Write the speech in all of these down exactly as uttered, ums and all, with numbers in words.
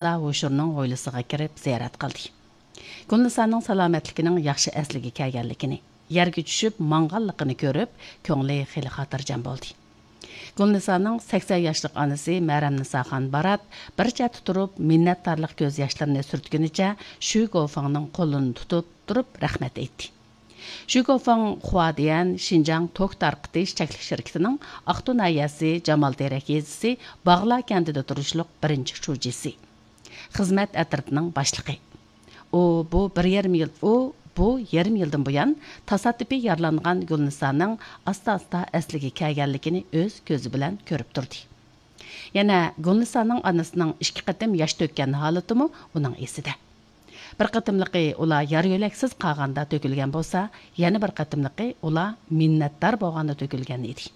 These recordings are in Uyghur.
ھوشۇرنىڭ ھويلىسىغا كىرىپ زىيارەت قىلدى. گۈلنىسانىڭ سالامەتلىكىنىڭ ياخشى ئەسلىگە كەلگەنلىكىنى، يەرگە چۈشۈپ ماڭغانلىقىنى كۆرۈپ، كۆڭلى خېلى خاتىرجەم بولدى. گۈلنىسانىڭ سەكسەن ياشلىق ئانىسى مەرەمنىساخان بارات بىر چەتتە تۇرۇپ، مىننەتدارلىق كۆز ياشلىرىنى سۈرتكىنىچە شۈ گوفېڭنىڭ قولىنى تۇتۇپ تۇرۇپ رەھمەت ئېيتتى. شۈ گوفېڭ خۇادىيەن شىنجاڭ توك تارقىتىش چەكلىك شىركىتىنىڭ ئاقتۇ ناھىيەسى جامال تېرەك يېزىسى باغلا كەنتىدە تۇرۇشلۇق بىرىنچى شۇجىسى، خىزمەت ئەترىتىنىڭ باشلىقى. ئۇ بۇ بىر يېرىم يىل، ئۇ بۇ يېرىم يىلدىن بۇيان تاسادىپىي يارىلانغان گۈلنىسانىڭ ئاستا-ئاستا ئەسلىگە كەلگەنلىكىنى ئۆز كۆزى بىلەن كۆرۈپ تۇردى. يەنە گۈلنىسانىڭ ئانىسىنىڭ ئىككى قېتىم ياش تۆككەن ھالىتىمۇ ئۇنىڭ ئېسىدە. بىر قېتىملىقى ئۇلار يار-يۆلەكسىز قالغاندا تۆكۈلگەن بولسا، يەنە بىر قېتىملىقى ئۇلار مىننەتدار بولغاندا تۆكۈلگەن ئىدى.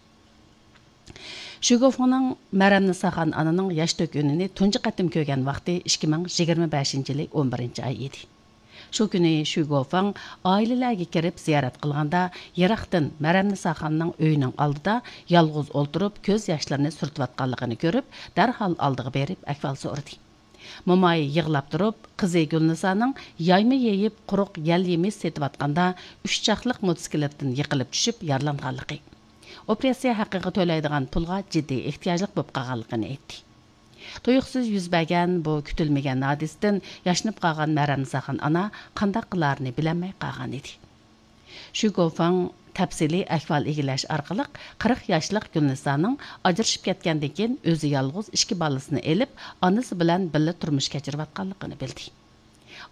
شۈگوفېڭنىڭ مەرەمنىساخان ئانىنىڭ ياش تۆككىنىنى تۇنجى قېتىم كۆرگەن ۋاقتى ئىككى مىڭ يىگىرمە بەشىنچى يىلى ئون بىرىنچى ئاي ئىدى. شۇ كۈنى شۈگوفېڭ ئائىلىلەرگە كىرىپ زىيارەت قىلغاندا، يىراقتىن مەرەمنىساخاننىڭ ئۆيىنىڭ ئالدىدا يالغۇز ئولتۇرۇپ، كۆز ياشلىرىنى سۈرتۈۋاتقانلىقىنى كۆرۈپ، دەرھال ئالدىغا بېرىپ ئەھۋال سورىدى. موماي يىغلاپ تۇرۇپ، قىزى گۈلنىسانىڭ يايما يېيىپ، قۇرۇق يەل يېمىش سېتىۋاتقاندا، ئۈچ چاقلىق موتوسىكلىتتىن يىقىلىپ چۈشۈپ يارىلانغانلىقى، ئوپېراتسىيە ھەققىگە تۆلەيدىغان پۇلغا جىددىي ئېھتىياجلىق بولۇپ قالغانلىقىنى ئېيتتى. تۇيۇقسىز يۈز بەرگەن بۇ كۈتۈلمىگەن ھادىسىدىن ياشىنىپ قالغان مەرەمنىساخان ئانا قانداق قىلارىنى بىلەلمەي قالغانىدى. شۈگوفېڭ تەپسىلىي ئەھۋال ئىگىلەش ئارقىلىق، قىرىق ياشلىق گۈلنىسانىڭ ئاجرىشىپ كەتكەندىن كېيىن، ئۆزى يالغۇز ئىككى بالىسىنى ئېلىپ، ئانىسى بىلەن بىللە تۇرمۇش كەچۈرۈۋاتقانلىقىنى بىلدى.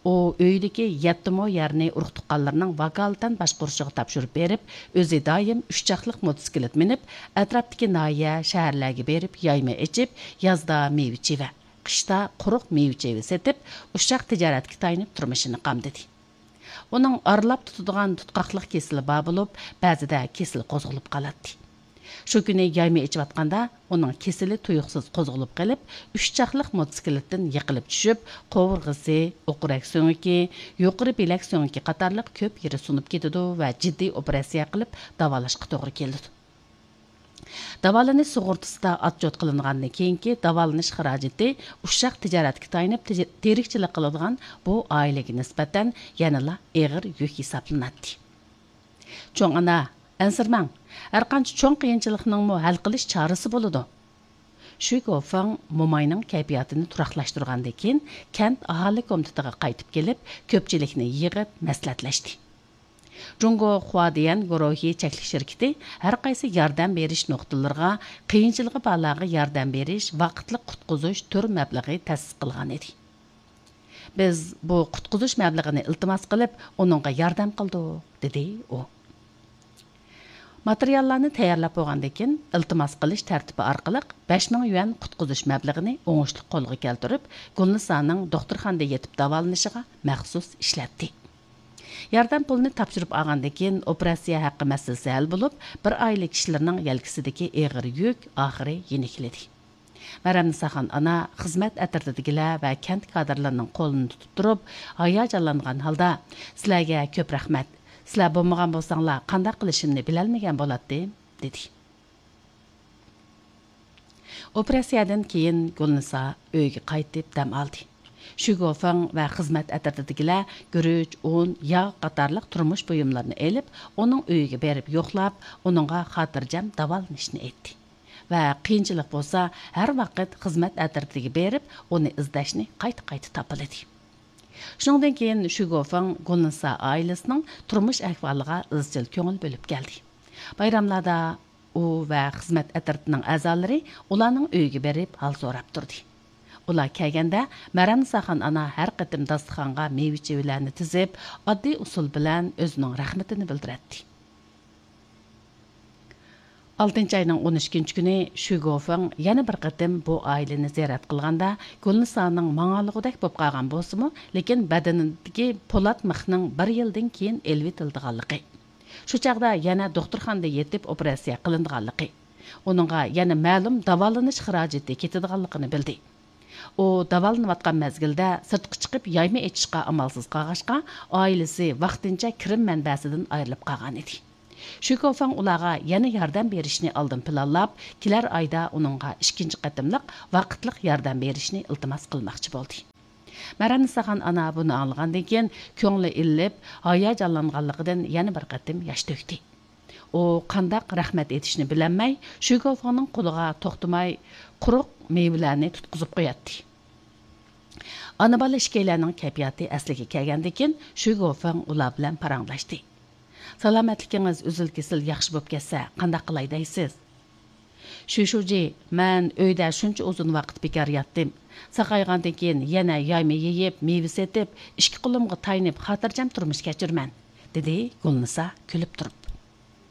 ئۇ ئۆيىدىكى يەتتە مو يەرنى ئۇرۇق-تۇغقانلىرىنىڭ ۋاكالىتەن باشقۇرۇشىغا تاپشۇرۇپ بېرىپ، ئۆزى دائىم ئۈچ چاقلىق موتوسىكلىت مىنىپ، ئەتراپتىكى ناھىيە، شەھەرلەرگە بېرىپ، يايما ئېچىپ، يازدا مېۋە-چىۋە، قىشتا قۇرۇق مېۋە-چىۋە سېتىپ، ئۇششاق تىجارەتكە تايىنىپ تۇرمۇشىنى قامدىدى. ئۇنىڭ ئارىلاپ تۇتىدىغان تۇتقاقلىق كېسىلى بار بولۇپ، بەزىدە كېسىلى قوزغىلىپ قالاتتى. شۇ كۈنى يايما ئېچىۋاتقاندا، ئۇنىڭ كېسىلى تۇيۇقسىز قوزغىلىپ قېلىپ، ئۈچ چاقلىق موتوسىكلىتتىن يىقىلىپ چۈشۈپ، قوۋۇرغىسى، ئوقرەك سۆڭىكى، يۇقىرى بىلەك سۆڭىكى قاتارلىق كۆپ يېرى سۇنۇپ كېتىدۇ ۋە جىددىي ئوپېراتسىيە قىلىپ داۋالاشقا توغرا كېلىدۇ. داۋالىنىش سۇغۇرتىسىدا ئاتچوت قىلىنغاندىن كېيىنكى داۋالىنىش خىراجىتى ئۇششاق تىجارەتكە تايىنىپ تىج-، تىرىكچىلىك قىلىدىغان بۇ ئائىلىگە نىسبەتەن يەنىلا ئېغىر يۈك ھېسابلىناتتى. چوڭ ئانا، ئەنسىرىمەڭ، ھەرقانچە چوڭ قىيىنچىلىقنىڭمۇ ھەل قىلىش چارىسى بولىدۇ. شۈ گوفېڭ موماينىڭ كەيپىياتىنى تۇراقلاشتۇرغاندىن كېيىن، كەنت ئاھالە كومىتېتىغا قايتىپ كېلىپ، كۆپچىلىكنى يىغىپ مەسلىھەتلەشتى. جۇڭگو خۇادىيەن گۇرۇھى چەكلىك شىركىتى ھەر قايسى ياردەم بېرىش نۇقتىلىرىغا قىيىنچىلىقى بارلارغا ياردەم بېرىش ۋاقىتلىق قۇتقۇزۇش تۈر مەبلىغى تەسىس قىلغان ئىدى. بىز بۇ قۇتقۇزۇش مەبلىغىنى ئىلتىماس قىلىپ، ئۇنىڭغا ياردەم قىلدۇق، دېدى ئۇ. ماتېرىياللارنى تەييارلاپ بولغاندىن كېيىن، ئىلتىماس قىلىش تەرتىپى ئارقىلىق بەش مىڭ يۈەن قۇتقۇزۇش مەبلىغىنى ئوڭۇشلۇق قولغا كەلتۈرۈپ، گۈلنىسانىڭ دوختۇرخانىدا يېتىپ داۋالىنىشىغا مەخسۇس ئىشلەتتى. ياردەم پۇلىنى تاپشۇرۇپ ئالغاندىن كېيىن، ئوپېراتسىيە ھەققى مەسىلىسى ھەل بولۇپ، بىر ئائىلە كىشىلىرىنىڭ يەلكىسىدىكى ئېغىر يۈك ئاخىرى يېنىكلىدى. مەرەمنىساخان ئانا خىزمەت ئەترىتىدىكىلەر ۋە كەنت كادىرلىرىنىڭ قولىنى تۇتۇپ تۇرۇپ، ھاياجانلانغان ھالدا، «سىلەرگە كۆپ رەھمەت. سىلەر بولمىغان بولساڭلار، قانداق قىلىشىمنى بىلەلمىگەن بولاتتىم»، دېدى. ئوپېراتسىيەدىن كېيىن گۈلنىسا ئۆيىگە قايتىپ دەم ئالدى. شۈگوفېڭ ۋە خىزمەت ئەترىتىدىكىلەر گۈرۈچ، ئۇن، ياغ قاتارلىق تۇرمۇش بۇيۇملىرىنى ئېلىپ، ئۇنىڭ ئۆيىگە بېرىپ يوقلاپ، ئۇنىڭغا خاتىرجەم داۋالىنىشنى ئېيتتى. ۋە قىيىنچىلىق بولسا، ھەر ۋاقىت خىزمەت ئەترىتىگە بېرىپ، ئۇنى ئىزدەشنى قايتا-قايتا تاپىلىدى. شۇنىڭدىن كېيىن شۈگوفېڭ گۈلنىسا ئائىلىسىنىڭ تۇرمۇش ئەھۋالىغا ئىزچىل كۆڭۈل بۆلۈپ كەلدى. بايراملاردا ئۇ ۋە خىزمەت ئەترىتىنىڭ ئەزالىرى ئۇلارنىڭ ئۆيىگە بېرىپ ھال سوراپ تۇردى. ئۇلار كەلگەندە، مەرەمنىساخان ئانا ھەر قېتىم داستىخانغا مېۋە-چېۋىلەرنى تىزىپ، ئاددىي ئۇسۇل بىلەن ئۆزىنىڭ رەھمىتىنى بىلدۈرەتتى. ئالتىنچى ئاينىڭ ئون ئىككىنچى كۈنى شۈگوفېڭ يەنە بىر قېتىم بۇ ئائىلىنى زىيارەت قىلغاندا، گۈلنىسانىڭ ماڭالىغۇدەك بولۇپ قالغان بولسىمۇ، لېكىن بەدىنىدىكى پولات مىخنىڭ بىر يىلدىن كېيىن ئېلىۋېتىلىدىغانلىقى، شۇ چاغدا يەنە دوختۇرخانىدا يېتىپ ئوپېراتسىيە قىلىنىدىغانلىقى، ئۇنىڭغا يەنە مەلۇم داۋالىنىش خىراجىتى كېتىدىغانلىقىنى بىلدى. ئۇ داۋالىنىۋاتقان مەزگىلدە سىرتقا چىقىپ يايما ئېچىشقا ئامالسىز قالغاچقا، ئائىلىسى ۋاقتىنچە كىرىم مەنبەسىدىن ئايرىلىپ قالغانىدى. شۈگوفېڭ ئۇلارغا يەنە ياردەم بېرىشنى ئالدىن پىلانلاپ، كېلەر ئايدا ئۇنىڭغا ئىككىنچى قېتىملىق ۋاقىتلىق ياردەم بېرىشنى ئىلتىماس قىلماقچى بولدى. مەرەننىساخان ئانا بۇنى ئاڭلىغاندىن كېيىن، كۆڭلى ئىللىپ، ھاياجانلانغانلىقىدىن يەنە بىر قېتىم ياش تۆكتى. ئۇ قانداق رەھمەت ئېيتىشنى بىلەلمەي، شۈگوفېڭنىڭ قولىغا توختىماي قۇرۇق مېۋىلەرنى تۇتقۇزۇپ قوياتتى. ئانا-بالا ئىككىيلەننىڭ كەيپىياتى ئەسلىگە كەلگەندىن كېيىن، شۈگوفېڭ ئۇلار بىلەن پاراڭلاشتى. سالامەتلىكىڭىز ئۈزۈل-كېسىل ياخشى بوپ كەتسە، قانداق قىلاي دەيسىز؟ شۈشۈجى، مەن ئۆيدە شۇنچە ئۇزۇن ۋاقىت بىكار ياتتىم. ساقايغاندىن كېيىن يەنە يايما يېيىپ، مېۋە سېتىپ، ئىككى قولۇمغا تايىنىپ، خاتىرجەم تۇرمۇش كەچۈرىمەن، دېدى گۈلنىسا كۈلۈپ تۇرۇپ.